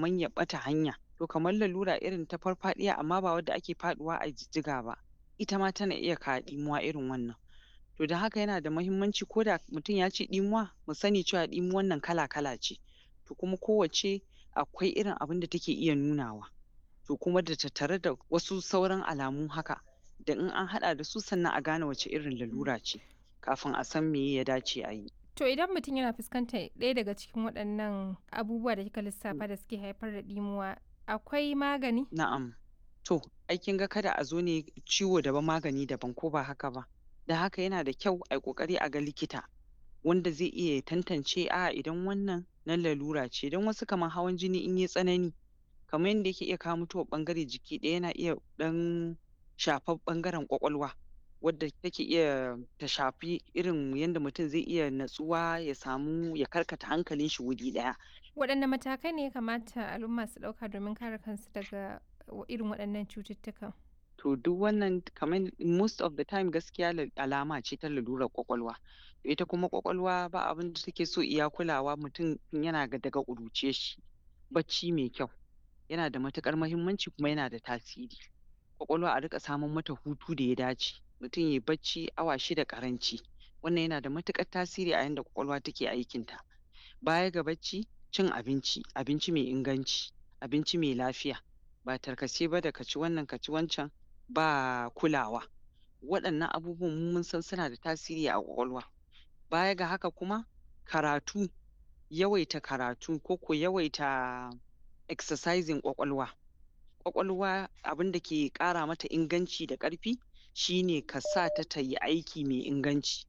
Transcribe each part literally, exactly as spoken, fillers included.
kaman ya ɓata hanya. To kamar lalura irin ta farfaɗiya amma ba wadda ake faɗuwa a jijjiga ba, ita ma tana iya kawo ɗimuwa irin wannan. To don haka yana da mahimmanci ko da mutum ya ce ɗimuwa, mu sani cewa ɗimuwan nan kala-kala ce, to kuma kowacce akwai irin abin da take iya nunawa. To kuma da tattare da wasu sauran alamu haka, da in an haɗa da su sannan a gane wace irin lalura ce, kafin a san meye ya dace a yi. To idan mutum yana fuskantar ɗaya daga cikin waɗannan abubuwa da kika lissafa da suke haifar da ɗimuwa, akwai magani? Na'am. To, ai kin ga kada a zo ne ciwo daban magani daban ko ba haka ba. Don haka yana da kyau ai ƙoƙari a ga likita wanda zai iya ya tantance a'a idan wannan na lalura ce don wasu kamar hawan jini in yai tsanani kamar yanda yake iya kawo mutuwar ɓangare jiki ɗaya yana iya ɗan shafar ɓangaren ƙwaƙwalwa wadda take iya ta shafi irin yanda mutum zai iya natsuwa ya samu ya karkata hankalin shi wuri ɗaya. Waɗanne matakai ne ya kamata al'umma su ɗauka domin kare kansu daga irin waɗannan cututtukan? To duk wannan kaman most of the time gaskiya alama ce ta lalurar ƙwaƙwalwa. Ita kuma ƙwaƙwalwa ba abin da take so iya kulawa mutum tun yana daga ƙuruciyar shi. Bacci mai kyau yana da matuƙar mahimmanci kuma yana da tasiri. Ƙwaƙwalwa a riƙa samar mata hutu da ya dace. Mutum yai bacci awa shida ƙaranci. Wannan yana da matuƙar tasiri a yanda ƙwaƙwalwa take aikinta. Baya ga bacci, cin abinci, abinci mai inganci, abinci mai lafiya, ba tarkace ba da ka ci wannan ka ci wancan ba kulawa. Waɗannan abubuwan mu mun san suna da tasiri a ƙwaƙwalwa. Baya ga haka kuma karatu, yawaita karatu ko ko yawaita exercising ƙwaƙwalwa. Ƙwaƙwalwa abin da ke ƙara mata inganci da ƙarfi shine ka sa ta ta yi aiki mai inganci.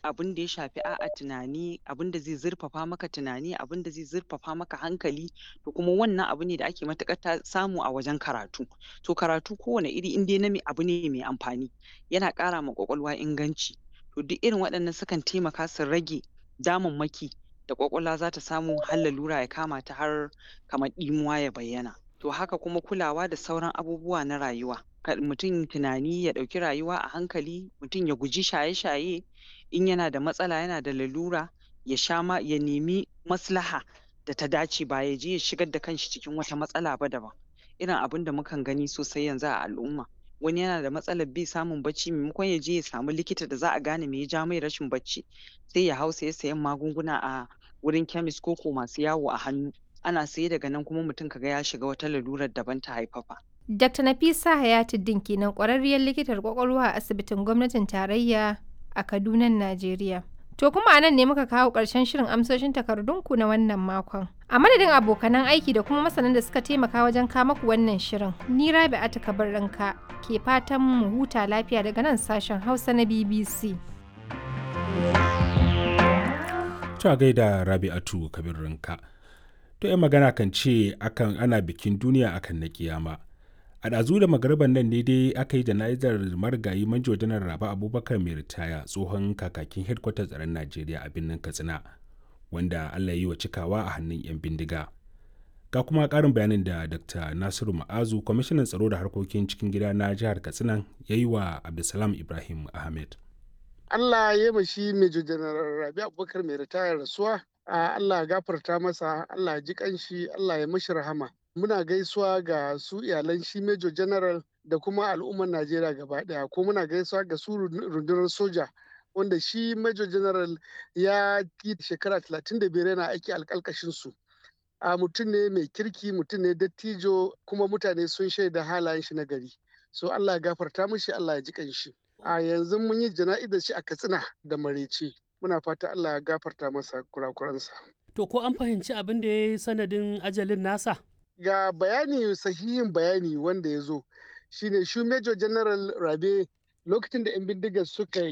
Abin da ya shafi a'a tunani, abin da zai zurfafa maka tunani, abin da zai zurfafa maka hankali, to kuma wannan abu ne da ake matuƙar ta samu a wajen karatu. To karatu kowane iri in dai na me abu ne mai amfani, yana ƙara ma ƙwaƙwalwa inganci. To duk irin waɗannan sukan taimaka su rage damammaki da ƙwaƙwalwa za ta samu har lalura ya kama ta har kamar ɗimuwa ya bayyana. To haka kuma kulawa da sauran abubuwa na rayuwa. Kar mutum tunani ya ɗauki rayuwa a hankali, mutum ya guji shaye-shaye, in yana da matsala yana da lalura ya sha ma ya nemi maslaha da ta dace ba ya je ya shigar da kanshi cikin wata matsala ba daban. Irin abin da mukan gani sosai yanzu a al'umma. Wani yana da matsalar bai samun bacci maimakon ya je ya samu likita da za a gane me ya ja mai rashin bacci, sai ya hau saye-sayen magunguna a wurin chemist ko ko masu yawo a hannu. Ana saye daga nan kuma mutum ka ga ya shiga wata lalurar daban ta haifafa. Dakta Nafisa Hayatuddin kenan ƙwararriyar likitar ƙwaƙwalwa a asibitin gwamnatin tarayya a Kadunan Najeriya. To kuma a nan ne muka kawo ƙarshen shirin amsoshin takardunku na wannan makon. A madadin abokanan aiki da kuma masanan da suka taimaka wajen kama ku wannan shirin, ni Rabi'atu Kabirrinka ke fatan mu huta lafiya daga nan sashen Hausa na B B C. To a gaida Rabi'atu Kabirrinka. To 'yan magana kan ce akan ana bikin duniya akan na kiyama. A ɗazu da magariban nan ne dai aka yi jana'izar marigayi manjo janar Rabe Abubakar mai ritaya tsohon kakakin hedkwatar tsaron Najeriya a birnin Katsina wanda Allah ya yi wa cikawa a hannun 'yan bindiga. Ga kuma ƙarin bayanin da Dakta Nasiru Ma'azu kwamishinan tsaro da harkokin cikin gida na jihar Katsina ya yi wa Abdulsalam Ibrahim Ahmed. Allah ya yi shi Major Janar Rabe Abubakar mai ritaya rasuwa. Allah ya gafarta masa, Allah ya ji kanshi, Allah ya mashi rahama. Muna gaisuwa ga su iyalan shi Major General da kuma al'ummar Najeriya gaba daya, ko muna gaisuwa ga su rundunar soja wanda shi Major General ya yi shekara talatin da biyar yana aiki alƙalƙashin su. A mutum ne mai kirki, mutum ne dattijo, kuma mutane sun shaida halayen shi na gari. So Allah ya gafarta mishi, Allah ya ji kanshi. A yanzu mun yi jana'izar shi a Katsina da maraice. Muna fata Allah ya gafarta masa kurakuransa. To ko an fahimci abin da ya yi sanadin ajalin nasa? Ga bayani sahihin bayani wanda ya zo shine shi Major General Rabe lokacin da 'yan bindigar suka